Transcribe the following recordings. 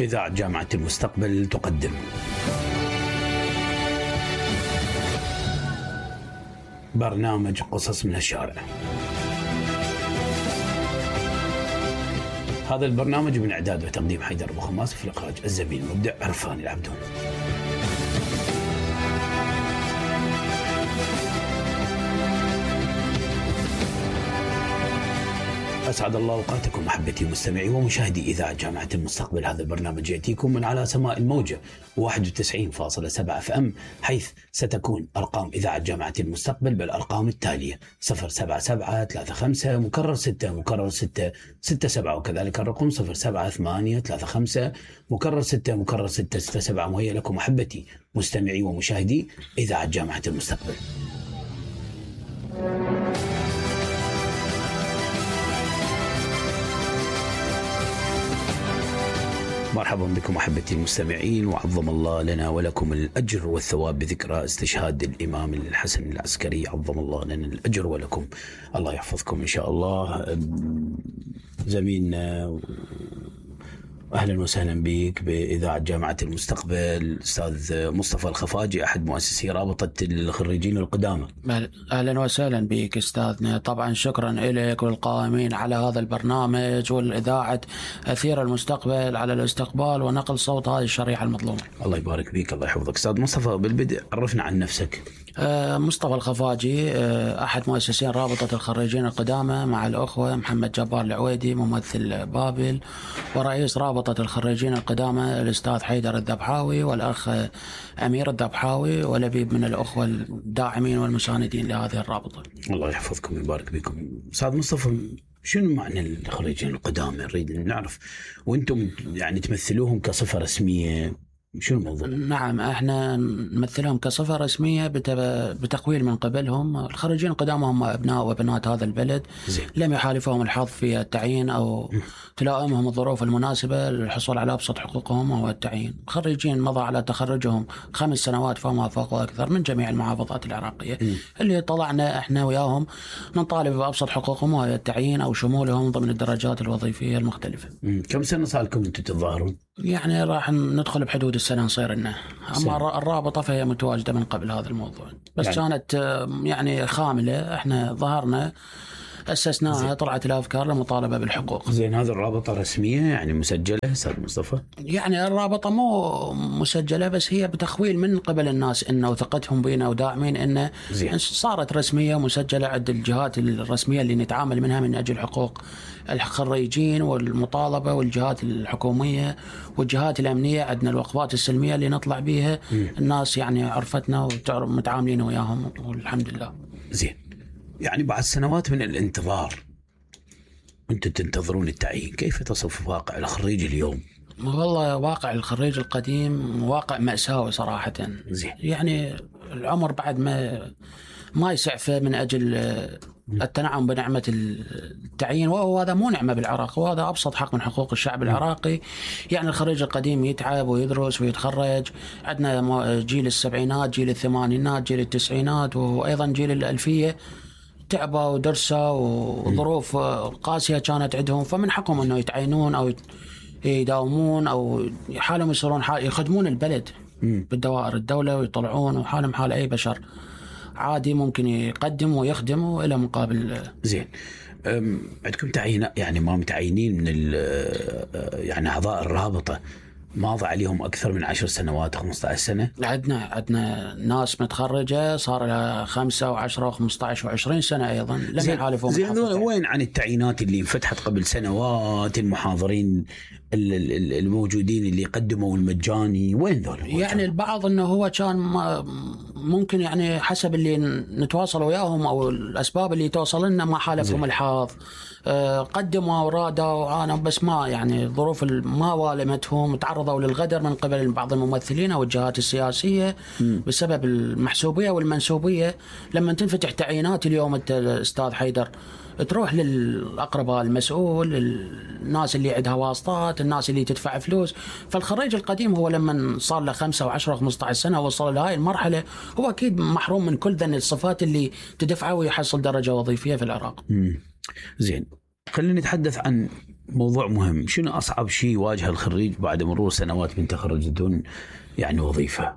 إذاعة جامعة المستقبل تقدم برنامج قصص من الشارع. هذا البرنامج من إعداد وتقديم حيدر أبو خماس، في الإخراج الزميل المبدع عرفان العبدون. أسعد الله أوقاتكم محبتي مستمعي ومشاهدي إذاعة جامعة المستقبل. هذا البرنامج يأتيكم من على سماء الموجة 91.7 FM، حيث ستكون أرقام إذاعة جامعة المستقبل بالأرقام التالية: 07735 مكرر 6 مكرر 6 67، وكذلك الرقم 07835 مكرر 6 مكرر 6 67. وهي لكم محبتي مستمعي ومشاهدي إذاعة جامعة المستقبل. مرحبا بكم أحبتي المستمعين، وعظم الله لنا ولكم الأجر والثواب بذكرى استشهاد الإمام الحسن العسكري. عظم الله لنا الأجر ولكم، الله يحفظكم إن شاء الله. زميلنا أهلا وسهلا بك بإذاعة جامعة المستقبل أستاذ مصطفى الخفاجي، أحد مؤسسي رابطة الخريجين القدامى. أهلا وسهلا بك أستاذنا. طبعا شكرا لك والقائمين على هذا البرنامج والإذاعة أثير المستقبل على الاستقبال ونقل صوت هذه الشريحة المظلومة. الله يبارك بك، الله يحفظك. أستاذ مصطفى، بالبدء عرفنا عن نفسك. مصطفى الخفاجي، أحد مؤسسين رابطة الخريجين القدامى مع الأخوة محمد جبار العويدي ممثل بابل، ورئيس رابطة الخريجين القدامى الأستاذ حيدر الذبحاوي والأخ أمير الذبحاوي ولبيب من الأخوة الداعمين والمساندين لهذه الرابطة. الله يحفظكم ويبارك بكم. أستاذ مصطفى، شنو معنى الخريجين القدامى؟ نريد نعرف، وأنتم يعني تمثلوهم كصفة رسمية، شو الموضوع؟ نعم، احنا نمثلهم كصفة رسمية بتقويل من قبلهم. الخريجين القدامى هم أبناء وبنات هذا البلد، لم يحالفهم الحظ في التعيين أو تلائمهم الظروف المناسبة للحصول على أبسط حقوقهم وهو التعيين. خريجين مضى على تخرجهم 5 سنوات فما فوق وأكثر من جميع المحافظات العراقية، اللي طلعنا احنا وياهم نطالب بأبسط حقوقهم وهو التعيين أو شمولهم ضمن الدرجات الوظيفية المختلفة. كم سنة صار لكم أنتم تتظاهرون؟ يعني راح ندخل بحدود السنة نصير لنا. أما الرابطة فهي متواجدة من قبل هذا الموضوع، بس يعني كانت يعني خاملة. احنا ظهرنا أسسناها، طلعت الأفكار للمطالبة بالحقوق. زين، هذه الرابطة رسمية يعني مسجلة أستاذ مصطفى؟ يعني الرابطة مو مسجلة، بس هي بتخويل من قبل الناس إنه ثقتهم بينا وداعمين إنه صارت رسمية مسجلة عند الجهات الرسمية اللي نتعامل منها من أجل حقوق الخريجين والمطالبة، والجهات الحكومية والجهات الأمنية. عندنا الوقفات السلمية اللي نطلع بيها، الناس يعني عرفتنا ومتعاملين وياهم والحمد لله. زين، يعني بعد سنوات من الانتظار أنتم تنتظرون التعيين، كيف تصف واقع الخريج اليوم؟ والله واقع الخريج القديم واقع مأساوي صراحة. زين. يعني العمر بعد ما يسعفه من أجل التنعم بنعمة التعيين، وهو هذا مو نعمة بالعراق، وهذا أبسط حق من حقوق الشعب العراقي. يعني الخريج القديم يتعب ويدرس ويتخرج. عندنا جيل السبعينات، جيل الثمانينات، جيل التسعينات، وأيضا جيل الألفية تعبوا ودرسوا وظروف قاسية كانت عندهم، فمن حقهم أنه يتعينون أو يداومون أو حالهم يصيرون يخدمون البلد بالدوائر الدولة ويطلعون، وحالهم حال أي بشر عادي ممكن يقدم ويخدم إلى مقابل. زين، عندكم تعيين يعني ما متعينين من يعني أعضاء الرابطة ماضي عليهم أكثر من 10 سنوات 15 سنة؟ عندنا ناس متخرجة صار لها 5 و10 و15 و20 سنة أيضا لم يحالفون. زين، وين عن التعيينات اللي انفتحت قبل سنوات؟ المحاضرين الموجودين اللي قدموا المجاني وين ذول؟ يعني البعض أنه هو كان ممكن يعني حسب اللي نتواصل وياهم أو الأسباب اللي توصل لنا ما حالفهم الحظ، قدموا ورادوا أنا بس ما يعني ظروف ما والمتهم، تعرضوا للغدر من قبل بعض الممثلين أو الجهات السياسية بسبب المحسوبية والمنسوبية. لما تنفتح تعيينات اليوم أنت أستاذ حيدر تروح للأقرباء المسؤول، الناس اللي عندها واسطات، الناس اللي تدفع فلوس. فالخريج القديم هو لما صار له 5 و10 و15 سنة وصل لهاي المرحلة هو أكيد محروم من كل ذن الصفات اللي تدفعه ويحصل درجة وظيفية في العراق. زين، خلينا نتحدث عن موضوع مهم. شنو أصعب شيء واجه الخريج بعد مرور سنوات من تخرج بدون يعني وظيفة؟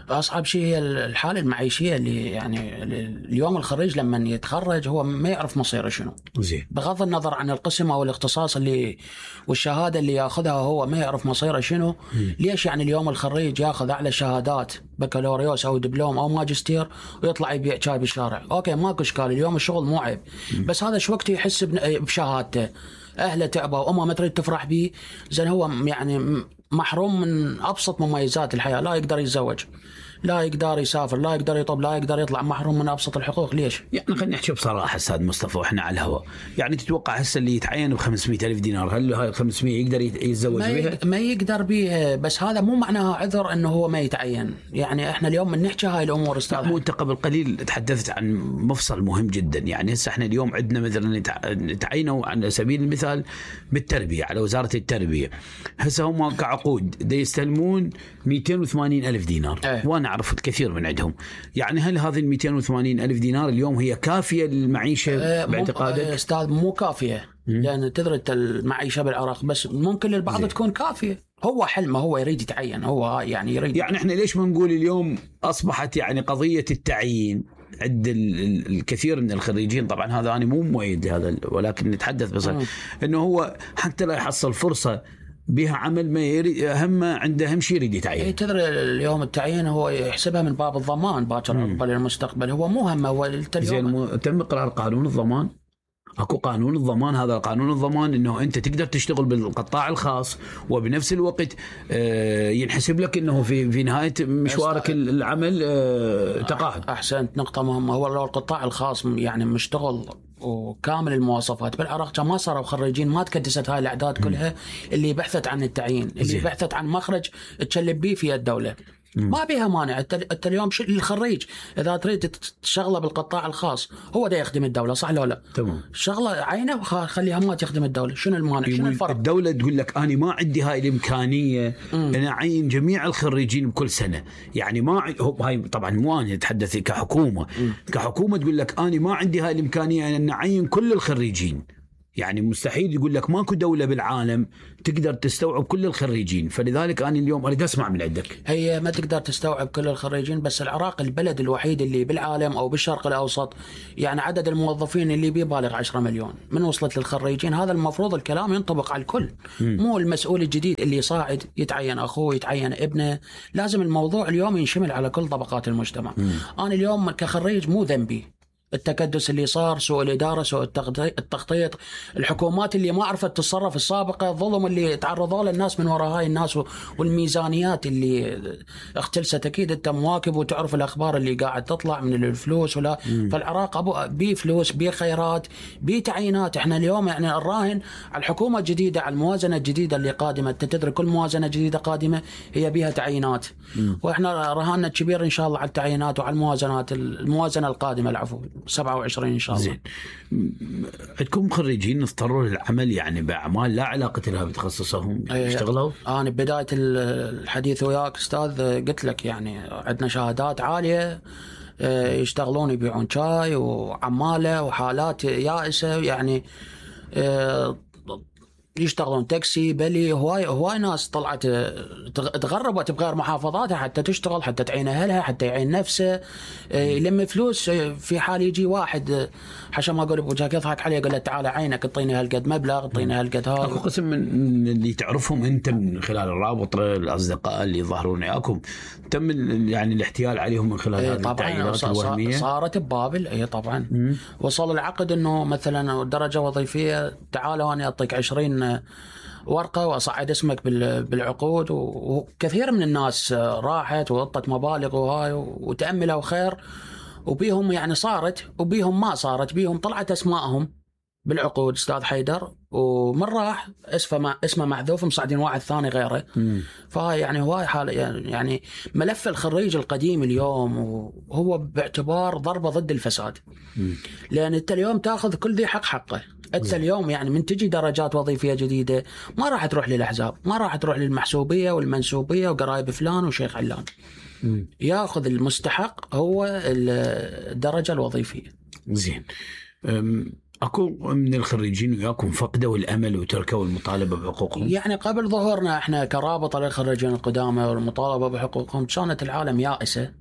أصعب شيء هي الحالة المعيشية اللي يعني اليوم الخريج لما يتخرج هو ما يعرف مصيره شنو. زين. بغض النظر عن القسم أو الاختصاص اللي والشهادة اللي ياخذها هو ما يعرف مصيره شنو. ليش يعني اليوم الخريج ياخذ أعلى شهادات بكالوريوس أو دبلوم أو ماجستير ويطلع يبيع شاي بالشارع؟ أوكي ماكو إشكال، اليوم الشغل مو عيب، بس هذا شو وقت يحس بشهادته، أهله تعبوا وأمه ما تريد تفرح به، زين هو يعني محروم من أبسط مميزات الحياة، لا يقدر يتزوج، لا يقدر يسافر، لا يقدر يطب، لا يقدر يطلع، محروم من أبسط الحقوق. ليش؟ يعني خلينا نحكي بصراحة أستاذ مصطفى وإحنا على الهواء، يعني تتوقع هسه اللي يتعين ب500,000 دينار هل هاي 500 يقدر يتزوج بها؟ ما يقدر بها، بس هذا مو معناها عذر إنه هو ما يتعين. يعني إحنا اليوم من نحكي هاي الأمور أستاذ. مو أنت قبل قليل تحدثت عن مفصل مهم جدا، يعني هسه إحنا اليوم عندنا مثلا تعينوا على سبيل المثال بالتربية على وزارة التربية، هسه هم كعقود دا يستلمون 280,000 دينار. وأنا أعرف الكثير من عندهم. يعني هل هذه 280,000 دينار اليوم هي كافية للمعيشة باعتقادك؟ أستاذ مو كافية، لأن تدري المعيشة بالعراق، بس ممكن للبعض تكون كافية. هو حلمه، هو يريد يتعين، هو يعني يريد. يعني احنا ليش ما نقول اليوم أصبحت يعني قضية التعيين عند الكثير من الخريجين، طبعا هذا أنا مو مؤيد هذا، ولكن نتحدث بس إنه هو حتى لا يحصل فرصة بها عمل ما يريد، هم عنده أهم شيء يريد يتعين. تدري اليوم التعيين هو يحسبها من باب الضمان باكر عقبال المستقبل، هو مو هم هو زين. تم إقرار قانون الضمان، اكو قانون الضمان، هذا قانون الضمان انه انت تقدر تشتغل بالقطاع الخاص وبنفس الوقت ينحسب لك انه في نهايه مشوارك العمل تقاعد. احسنت، نقطه مهمه. هو لو القطاع الخاص يعني مشتغل وكامل المواصفات بالعراق كان ما صاروا خريجين، ما تكدست هاي الاعداد كلها اللي بحثت عن التعيين، اللي بحثت عن مخرج تشلب به في الدوله. ما بيها مانع. انت اليوم الخريج اذا تريد تشغله بالقطاع الخاص هو دا يخدم الدوله، صح لو لا؟ تمام. شغله عينه وخليها ما تخدم الدوله. شنو المانع؟ شنو الفرق؟ الدوله تقول لك انا ما عندي هاي الامكانيه انا اعين جميع الخريجين بكل سنه، يعني ما هاي طبعا مو انا اتحدث كحكومه. كحكومه تقول لك انا ما عندي هاي الامكانيه ان اعين كل الخريجين، يعني مستحيل. يقول لك ماكو دولة بالعالم تقدر تستوعب كل الخريجين، فلذلك أنا اليوم أريد أسمع من عندك. هي ما تقدر تستوعب كل الخريجين، بس العراق البلد الوحيد اللي بالعالم أو بالشرق الأوسط يعني عدد الموظفين اللي بيبالغ 10 مليون. من وصلت للخريجين هذا المفروض الكلام ينطبق على الكل، مو المسؤول الجديد اللي صاعد يتعين أخوه يتعين ابنه. لازم الموضوع اليوم ينشمل على كل طبقات المجتمع. أنا اليوم كخريج مو ذنبي التكدس اللي صار، سوء الإدارة، سوء التخطيط، الحكومات اللي ما عرفت تتصرف السابقة، الظلم اللي تعرضوا له الناس من وراء هاي الناس، والميزانيات اللي اختلست. أكيد أنت مواكب وتعرف الأخبار اللي قاعد تطلع من الفلوس ولا. فالعراق بيه فلوس، بيه خيرات، بيه تعيينات. احنا اليوم يعني الراهن على الحكومة الجديدة، على الموازنة الجديدة اللي قادمة. تدري كل موازنة جديدة قادمة هي بيها تعيينات، واحنا رهاننا كبير إن شاء الله على التعيينات وعلى الموازنة القادمة، العفو 27 إن شاء الله. زين. عندكم خريجين اضطروا للعمل يعني بأعمال لا علاقة لها بتخصصهم يشتغلوا؟ أنا بداية الحديث وياك أستاذ قلت لك يعني عندنا شهادات عالية يشتغلون يبيعون شاي وعمالة وحالات يائسة، يعني يشتغلون تاكسي بلي. هواي ناس طلعت تغربت بغير محافظاتها حتى تشتغل، حتى تعين أهلها، حتى يعين نفسه، يلم فلوس. في حال يجي واحد حشا ما أقول بوجهك يضحك عليه يقول له تعال عينك اعطيني هالقد مبلغ، اعطيني هالقد هذا. اكو قسم من اللي تعرفهم انت من خلال الرابط، الاصدقاء اللي يظهرون وياكم، تم يعني الاحتيال عليهم من خلال هذه التعيينات الوهميه؟ صارت ببابل. اي طبعا. وصل العقد انه مثلا درجه وظيفيه، تعالوا انا اعطيك 20 ورقة وأصعد اسمك بالعقود. وكثير من الناس راحت وغطت مبالغ وهاي وتأملوا خير، وبيهم يعني صارت وبيهم ما صارت، بيهم طلعت أسماءهم بالعقود أستاذ حيدر، ومن راح اسمه محذوف، مصعدين واحد ثاني غيره. فهاي يعني هواي حالة يعني ملف الخريج القديم اليوم وهو باعتبار ضربة ضد الفساد. لأن أنت اليوم تأخذ كل ذي حقه. أنت اليوم يعني من تجي درجات وظيفية جديدة ما راح تروح للأحزاب، ما راح تروح للمحسوبية والمنسوبية وقرايب فلان وشيخ علان. يأخذ المستحق هو الدرجة الوظيفية. زين. اكو من الخريجين وياكم فقدوا الامل وتركوا المطالبه بحقوقهم؟ يعني قبل ظهورنا احنا كرابطه للخريجين القدامى والمطالبه بحقوقهم كانت العالم يائسه،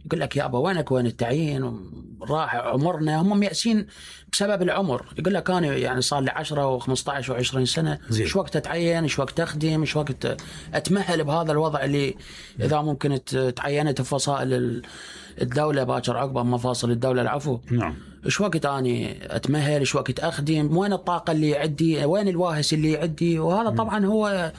يقول لك يابا وينك وين التعيين، راح عمرنا، هم ميأسين بسبب العمر. يقول لك انا يعني صار لي 10 و15 و20 سنه، ايش وقت اتعين، ايش وقت اخدم، ايش وقت اتمهل بهذا الوضع اللي اذا ممكن تعينت بفصائل الدوله باكر عقب مفاصل الدوله العفو. نعم. ايش وقت اني اتمهل، ايش وقت اخدم، وين الطاقه اللي عندي، وين الواهس اللي عندي. وهذا طبعا هو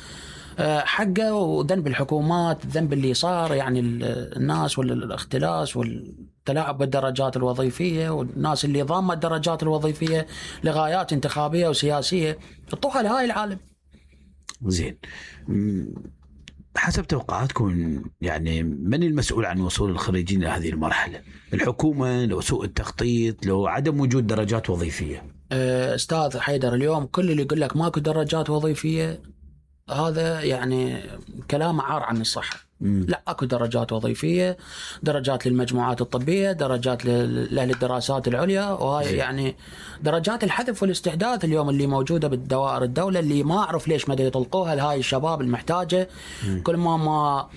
حقه وذنب الحكومات، الذنب اللي صار يعني الناس والاختلاس والتلاعب بالدرجات الوظيفيه، والناس اللي ضامه الدرجات الوظيفيه لغايات انتخابيه وسياسيه حطوها لهاي العالم. زين، حسب توقعاتكم يعني من المسؤول عن وصول الخريجين لهذه المرحله؟ الحكومه، لو سوء التخطيط، لو عدم وجود درجات وظيفيه؟ استاذ حيدر، اليوم كل اللي يقول لك ماكو درجات وظيفيه هذا يعني كلام عار عن الصحة. لا، اكو درجات وظيفية، درجات للمجموعات الطبية، درجات لأهل الدراسات العليا، وهاي يعني درجات الحذف والاستحداث اليوم اللي موجودة بالدوائر الدولة، اللي ما أعرف ليش ما يطلقوها لهاي الشباب المحتاجة. كل ما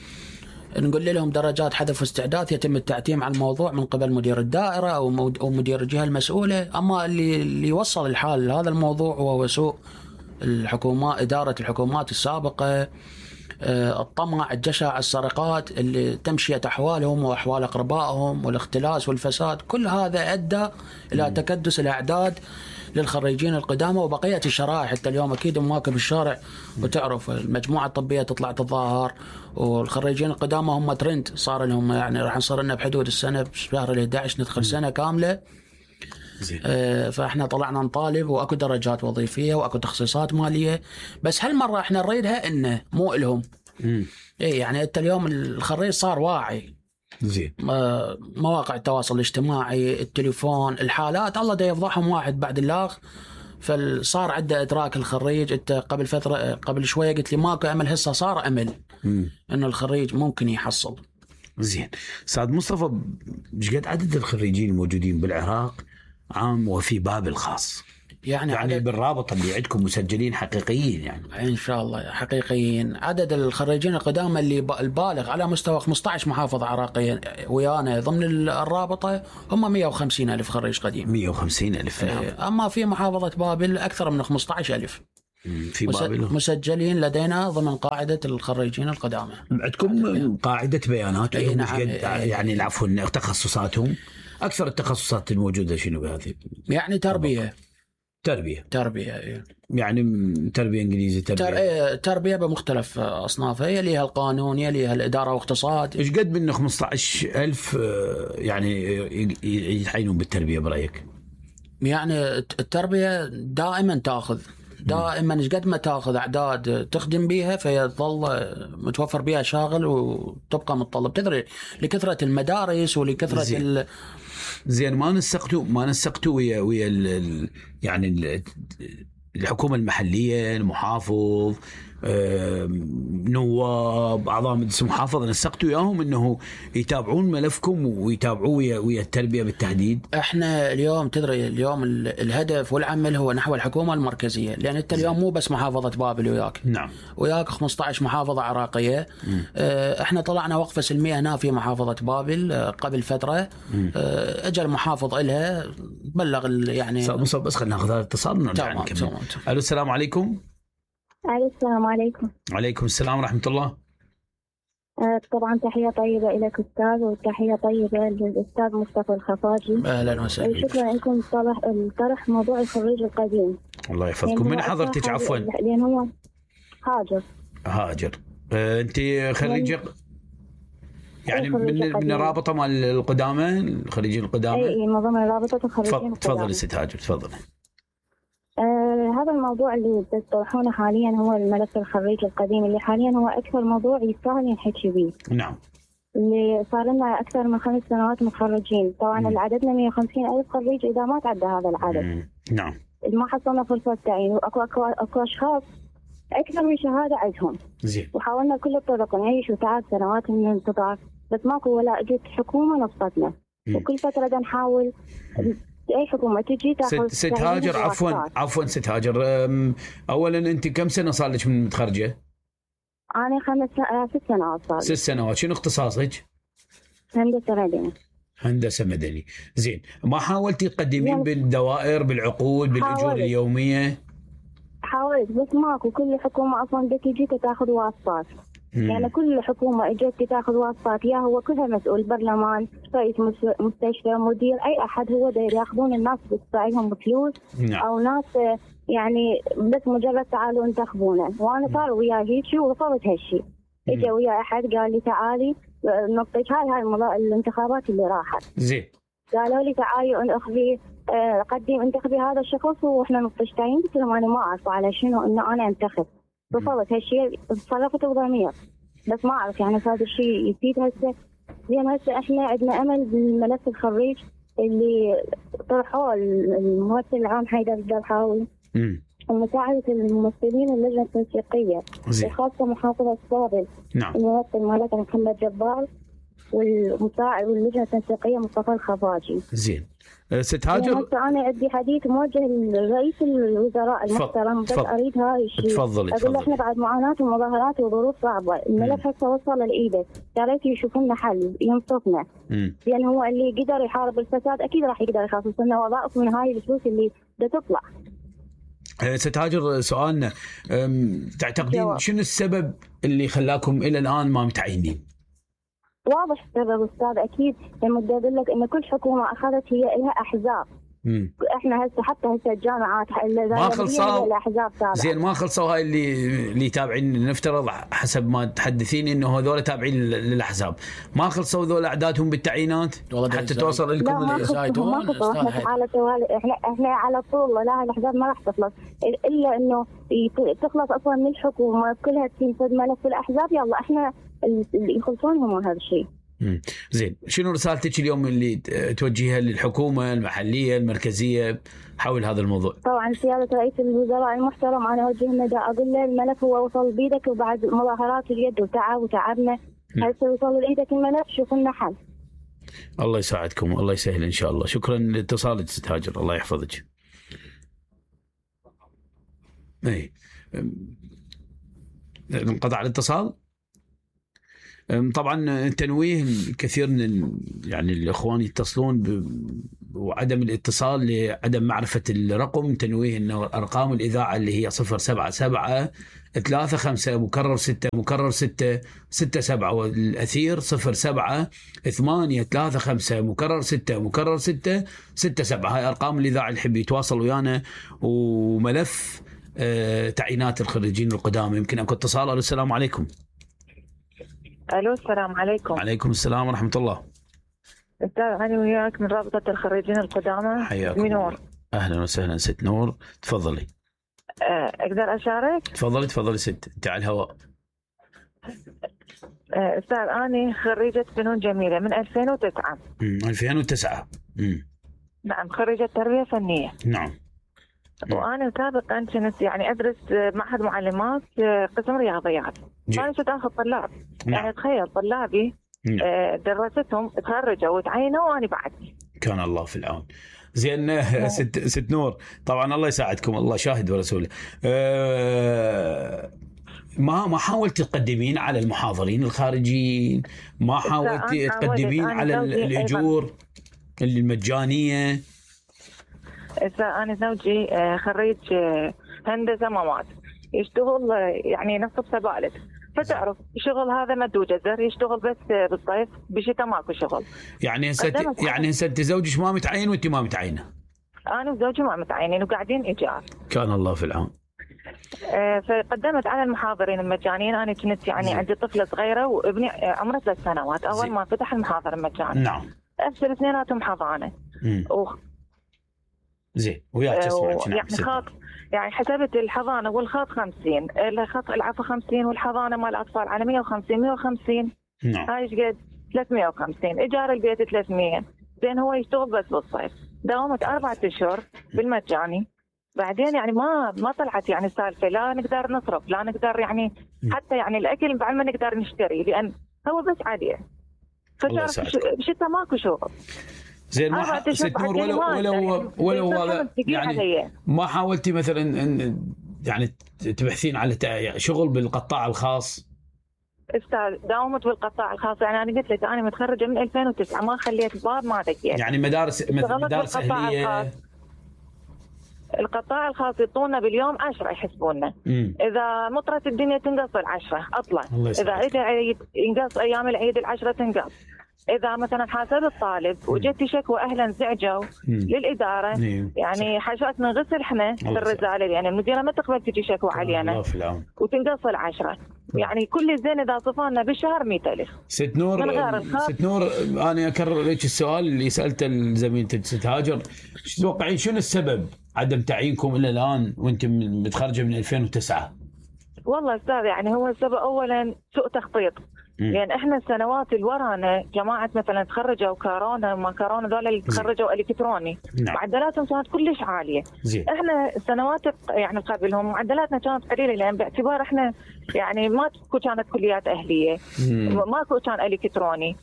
نقول لهم درجات حذف واستعداد يتم التعتيم على الموضوع من قبل مدير الدائرة أو مدير الجهة المسؤولة. أما اللي وصل الحال لهذا الموضوع هو سوء الحكومات، إدارة الحكومات السابقة، الطمع، الجشع، السرقات اللي تمشية أحوالهم وأحوال أقربائهم، والاختلاس والفساد. كل هذا أدى إلى تكدس الأعداد للخريجين القدامى وبقية الشرائح. حتى اليوم أكيد مواكب الشارع وتعرف المجموعة الطبية تطلع تظاهر، والخريجين القدامى هم ترند صار لهم، يعني راح نصير لنا بحدود السنة بشهر 11 ندخل سنة كاملة. فاحنا طلعنا نطالب، واكو درجات وظيفيه واكو تخصيصات ماليه، بس هالمره احنا نريدها انه مو الهم. اي يعني انت اليوم الخريج صار واعي. زين. مواقع التواصل الاجتماعي، التليفون، الحالات الله دا يفضحهم واحد بعد الاخ. فصار عنده ادراك الخريج. انت قبل فتره، قبل شويه قلت لي ماكو امل، هسه صار امل انه الخريج ممكن يحصل. زين استاذ مصطفى، ايش قد عدد الخريجين الموجودين بالعراق عام وفي بابل خاص؟ يعني بالرابطة اللي عندكم مسجلين حقيقيين يعني؟ إن شاء الله حقيقيين. عدد الخريجين القدامى اللي البالغ على مستوى 15 محافظة عراقية ويانا ضمن الرابطة هم 150 ألف خريج قديم. 150 ألف. أما في محافظة بابل أكثر من 15 ألف في بابل مسجلين لدينا ضمن قاعدة الخريجين القدامى. عندكم قاعدة بيانات؟ نعم. يعني العفو، تخصصاتهم، أكثر التخصصات الموجودة شنو بهذه؟ يعني تربية. يعني تربية إنجليزي، تربية بمختلف أصنافها، يليها القانون، يليها الإدارة واقتصاد. إيش قد منه 15,000 يعني يتعينون بالتربية برأيك؟ يعني التربية دائما تأخذ، دائما إيش قد ما تأخذ أعداد تخدم بيها فيظل متوفر بيها شاغل وتبقى متطلب. تدري لكثرة المدارس ولكثرة زين ما نسقتوا ويا يعني الحكومة المحلية، المحافظ، نواب، أعضاء مجلس المحافظة، نسقتوا وياهم إنه يتابعون ملفكم ويتابعوا ويا التربية بالتحديد؟ إحنا اليوم تدري اليوم الهدف والعمل هو نحو الحكومة المركزية، لأن أنت اليوم مو بس محافظة بابل وياك. نعم. وياك 15 محافظة عراقية. إحنا طلعنا وقفة سلمية هنا في محافظة بابل قبل فترة. أجى المحافظ إلها بلغ يعني بس خلينا ناخذ هذا الاتصال ونرجع نكمل. ألو، السلام عليكم. السلام عليكم. وعليكم السلام ورحمة الله. طبعا تحية طيبة لك أستاذ، وتحية طيبة للأستاذ مصطفى الخفاجي. أهلا وسهلا. شكرا لكم طرح موضوع الخريج القديم. الله يفضلكم. من حضرتك عفوا؟ لأن هو هاجر. أنت خريجة يعني من الرابطة مال القدامى، الخريجين القدامى؟ أي من ضمن رابطة الخريجين القدامى. تفضل ست هاجر، تفضل. هذا الموضوع اللي تطرحونه حاليا هو الملف الخريج القديم، اللي حاليا هو أكثر موضوع يستاهل ينحكي به. نعم. اللي صار لنا أكثر من 5 سنوات متخرجين، طبعا عددنا 150 ألف خريج إذا ما تعدى هذا العدد. نعم. ما حصلنا فرصة تعيين، وأكو أشخاص أكثر من شهادة عندهم. زين. وحاولنا كل الطرق نعيش وتعب سنوات من الانتظار، بس ماكو ولا اجت حكومة نصفتنا. وكل فترة نحاول اي حكومه تجي تاخذ. ست هاجر، عفوا ست هاجر، اولا انت كم سنه صار لك من متخرجه؟ انا 6 سنوات صار. 6 سنوات. شنو اختصاصك؟ هندسه مدني. هندسه مدني. زين، ما حاولتي تقدمين بالدوائر، بالعقود، بالاجور اليوميه؟ حاولت بس ماكو. كل حكومه اصلا بدك تجي تاخذ واسطات. يعني كل حكومه اجت تاخذ واسطات، يا هو كلها مسؤول، برلمان، رئيس مستشفى، مدير، اي احد هو دا ياخذون الناس بتدفع لهم فلوس. نعم. او ناس يعني بس مجرد تعالوا انتخبونا. وانا صار وياي هيك ورفضت هالشيء. اجى ويا احد قال لي تعالي نطيك هاي الانتخابات اللي راحت. زين. قالوا لي تعالي اخذي قدم انتخبي هذا الشخص واحنا نطشتين. قلت لهم انا ما اعرف على شنو انه انا انتخب. رفضت هالشيء، تصرفت بضمير بس ما اعرف يعني هذا الشيء يفيد هسه. زين هسه احنا عندنا امل بالملف الخريج اللي طرحوه الممثل العام حيدر الدرحاوي، ومساعدة الممثلين اللجنة التنسيقية وخاصة محافظة الصابل. نعم. الممثل مالتنا محمد جبار والمساعد واللجنة التنسيقية مصطفى الخفاجي. زين. ست هاجر، أنا عندي حديث موجه لرئيس الوزراء المحترم، بس أريد هاي الشيء. تفضلي. أقول له إحنا بعد معاناة ومظاهرات وظروف صعبة، الملف هسه وصل لإيده، يا ريت يشوفوا لنا حل ينصفنا. لأن هو اللي قدر يحارب الفساد أكيد راح يقدر يخصص لنا وظائف من هاي الفلوس اللي بدها تطلع. ست هاجر، سؤالنا تعتقدين شنو السبب اللي خلاكم إلى الآن ما متعينين؟ واضح السبب أستاذ، أكيد لما بدي أقول لك إن كل حكومة أخذت هي لها أحزاب. إحنا حتى الجامعات ما خلصوا الأحزاب تابعة. زين، ما خلصوا هاي اللي تابعين، نفترض حسب ما تحدثين إنه هذول تابعين للأحزاب، ما خلصوا ذول أعدادهم بالتعيينات حتى توصل لكم الزايدون. ما خلصوا. إحنا على طول لا الأحزاب ما راح تخلص إلا إنه تخلص أصلا من الحكومة كلها تنفذ ملف الأحزاب. يلا إحنا اللي يخلصونهم هذا الشيء. زين، شنو رسالتك اليوم اللي توجهها للحكومة المحلية المركزية حول هذا الموضوع؟ طبعا سيادة رئيس الوزراء المحترم أنا أوجه نداء أقول له الملف هو وصل بيدك، وبعد مظاهرات اليد وتعبنا هسه وصل لإيدك الملف، شوف لنا حل. الله يساعدكم، الله يسهل إن شاء الله. شكرا لاتصالك ست هاجر، الله يحفظك. اي انقطع الاتصال. طبعا تنويه الكثير من يعني الاخوان يتصلون وعدم الاتصال لعدم معرفه الرقم، تنويه انه ارقام الاذاعه اللي هي 077 35 مكرر 6 مكرر 6 67 والاثير 07 8 35 مكرر 6 مكرر 6 67. هاي ارقام الاذاعه اللي يحب يتواصل ويانا. وملف تعيينات الخريجين القدامى. يمكن اكو اتصال. السلام عليكم. الو السلام عليكم. عليكم السلام ورحمه الله. استاذ انا وياك من رابطه الخريجين القدامى. حياكم. نور. اهلا وسهلا ست نور، تفضلي. اقدر اشارك؟ تفضلي ست، انت على الهواء. استاذ انا خريجه فنون جميله من 2009. 2009. نعم، خريجه تربيه فنيه. نعم. وانا سابقا كنت يعني ادرس معهد معلمات قسم رياضيات. انا كنت اخذ طلاب. يعني تخيل طلابي دراستهم تخرجوا وتعينوا وانا بعد. كان الله في العون. زين ست نور، طبعا الله يساعدكم، الله شاهد ورسوله. ما حاولت تقدمين على المحاضرين الخارجيين؟ ما حاولت تقدمين على الاجور المجانيه؟ أنا زوجي خريج هندسة مواد، يشتغل يعني نصب سبالت، فتعرف الشغل هذا مد وجزر، يشتغل بس بالصيف، بالشتاء ماكو شغل. يعني هسه انت زوجك ما متعين وانت ما متعينه؟ انا وزوجي ما متعينين وقاعدين ايجار. كان الله في العون. فقدمت على المحاضرين المجانيين. انا كنت يعني عندي طفله صغيره وابني عمره 3 سنوات اول ما فتح المحاضر المجاني. نعم. افشل اثنيناتهم حضانه. زين، وياك تسمعك. يعني خاط، يعني حسبت الحضانه والخاط 50، الخاط العفو 50 والحضانه مال الاطفال على 150 150. نعم. هاي ايش قد؟ 350. ايجار البيت 300. زين هو يشتغل بس بالصيف. داومت 4 اشهر بالمجاني. بعدين يعني ما طلعت يعني سالفه، لا نقدر نصرف، لا نقدر يعني حتى يعني الاكل بعد ما نقدر نشتري، لان هو بس عليه. فشتى ماكو شغل. زين ما 4 أشهر ست نور بعد ولو هذا يعني علي. ما حاولتي مثلا ان يعني تبحثين على شغل بالقطاع الخاص؟ استاذ داومت بالقطاع الخاص، يعني انا قلت لك انا متخرجه من 2009 ما خليت باب ما دقيت. يعني مدارس اهليه. القطاع الخاص يعطونا باليوم 10 يحسبونا. اذا مطرت الدنيا تنقص ال10 اطلع، اذا عيد ينقص ايام العيد ال10 تنقص. اذا مثلا حاسب الطالب وجت شكوى اهلا زعجوا للاداره، يعني حاجات نغسل احنا في الرساله، يعني المديره ما تقبل تجي شكوى علينا وتنقص ال10. يعني كل زين اذا صفانا بالشهر 100,000. ست نور انا اكرر لك السؤال اللي سالته لزميلتك ست هاجر، شو تتوقعين شنو السبب عدم تعيينكم الى الان وانتم متخرجه من 2009؟ والله استاذ يعني هو السبب اولا سوء تخطيط. يعني احنا السنوات اللي ورانا جماعه مثلا تخرجوا كورونا وما كورونا ذول اللي تخرجوا الكتروني، معدلاتهم كانت كلش عاليه. احنا السنوات يعني قبلهم معدلاتنا كانت قليله، لان باعتبار احنا يعني ماكو كانت كليات اهليه، ماكو كان الكتروني،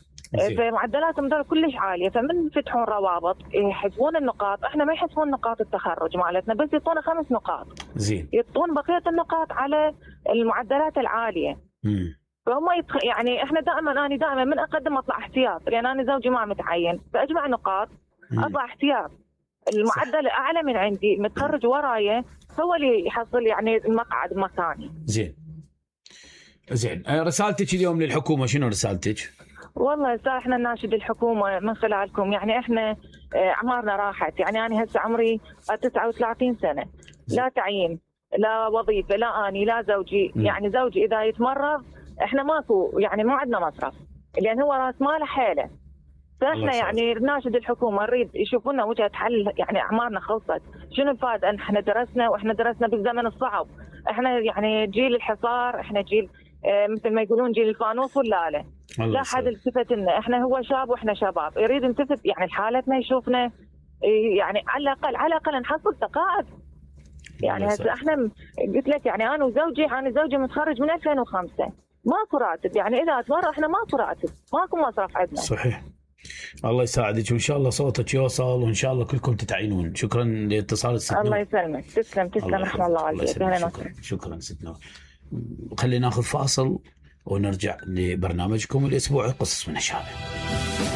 فمعدلاتهم ذول كلش عاليه. فمن يفتحون روابط يحسبون النقاط، احنا ما يحسبون نقاط التخرج مالتنا، بس يعطونا 5 نقاط. يعطون بقيه النقاط على المعدلات العاليه. فهم يعني احنا انا دائما من اقدم اطلع احتياط، لان انا زوجي ما متعين، فاجمع نقاط اطلع احتياط. المعدل اعلى من عندي متخرج ورايا هو اللي يحصل يعني المقعد مكاني. زين رسالتك اليوم للحكومه شنو رسالتك؟ والله احنا نناشد الحكومه من خلالكم، يعني احنا اعمارنا راحت، يعني انا هسه عمري 39 سنه، لا تعيين لا وظيفه، لا اني لا زوجي. يعني زوجي اذا يتمرض احنا ماكو يعني ما عندنا مصرف، لان هو راس ماله حيله. فاحنا يعني نناشد الحكومه نريد يشوفوا لنا وجهه حل، يعني اعمارنا خلصت. شنو الفائده ان احنا درسنا واحنا درسنا بالزمن الصعب؟ احنا يعني جيل الحصار، احنا جيل مثل ما يقولون جيل الفانوس ولا لا حد التفت لنا. احنا هو شاب واحنا شباب، يريد نلتفت يعني حالتنا يشوفنا، يعني على الاقل نحصل تقاعد. يعني هسه احنا قلت لك يعني انا زوجي متخرج من 2005، ماكو راتب، يعني اذا اتمرض احنا ماكو راتب، ماكو مصرف عندنا. صحيح. الله يساعدك وان شاء الله صوتك يوصل وان شاء الله كلكم تتعينون. شكرا لاتصال ست نور. الله يسلمك. تسلم رحمه الله عليك. شكرا ست نور. خلينا ناخذ فاصل ونرجع لبرنامجكم الاسبوعي قصص من الشارع.